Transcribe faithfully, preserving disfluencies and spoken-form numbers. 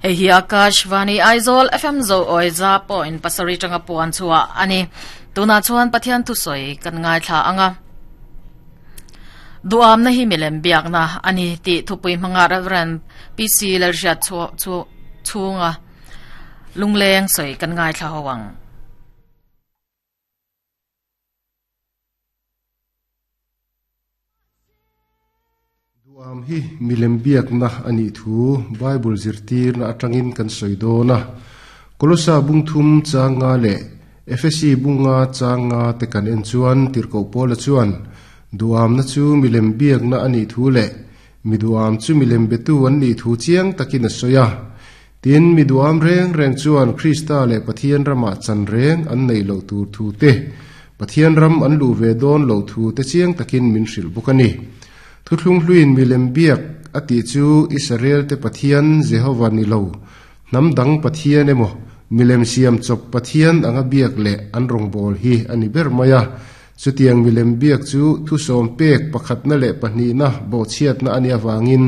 Hei hi Akashvani Aizawl F M zo oi za point pasarih tanga puan chhuah ani. Tunah chuan Pathian thusawi kan ngaithla anga. Duamna hi milem biakna ani tih thupui hmanga Reverend P C Lalhriat chu chhunga lungleng sawi kan ngaithla ho ang. Duam hi milem biakna anih thu Bible zirtirna atangin kan sawi dawn a. Kolosa bung thum chang nga leh Efesi bunga chang nga te kan en chuan Tirhkoh Paula chuan duamna chu milem biakna anih thu leh mi duam chu milem betu an nih thu chiang takin a sawi a. Tin, mi duam reng reng chuan Krista leh Pathian ramah chan reng an nei loh tur thu te, Pathian ram an luh ve dawn loh thu te chiang takin min hrilh bawk a ni. Thuthlung hluin milem biak a tih chu Israel te Pathian Jehova ni lo, hnam dang pathian emaw milem siam chawp pathian anga biak leh an rawngbâwl hi a ni ber mai a. Chutiang milem biak chu thusawm pek pakhatna leh pahnihna bawhchhiatna a nih avangin